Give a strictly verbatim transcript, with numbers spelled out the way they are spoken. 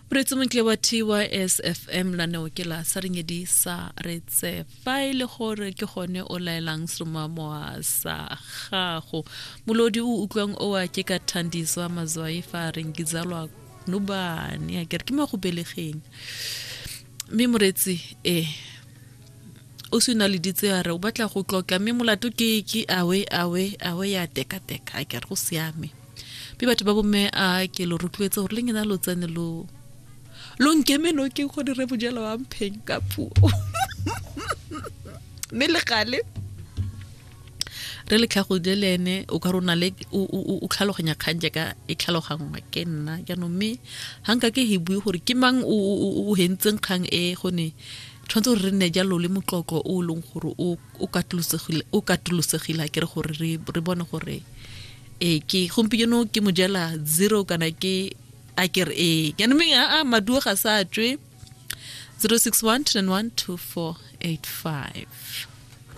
Moreetsi montle wa T Y S F M laneo ke la Saringedi sa retse fa e le gore ke gone o laelang seromamowa sa gago. Molodi o utlwang oa ke ka Thandiswa Mazwai fa a reng ke zalwa nobane, a kere ke mo go belegeng. Mme moreetsi e o se na le ditse a re o batla go tlotla, mme molato ke ke awe awe awe ya teka-teka, a kere go siame. Mme batho ba bomme a ke lo rotloetse gore le ngena lo tsene lo lo nkeme no ke go dire bojelo wa mpheng ka puo. Mme le gale re le tlhagode le ene o ka rona le o o tlhaloganya kgang jaaka e tlhaloganngwa ke nna jaanong, mme ga nka ke he bue gore ke mang o o hentseng kgang e, gone tshwanetse gore re nne jalo le motlotlo o leng gore o o katolosegile, o katolosegile a kere gore re re bone gore e ke gompieno ke mojela zero kana ke a kere e jaanong, mme a maduo ga sa tswe. Zero six one two nine one two four eight five.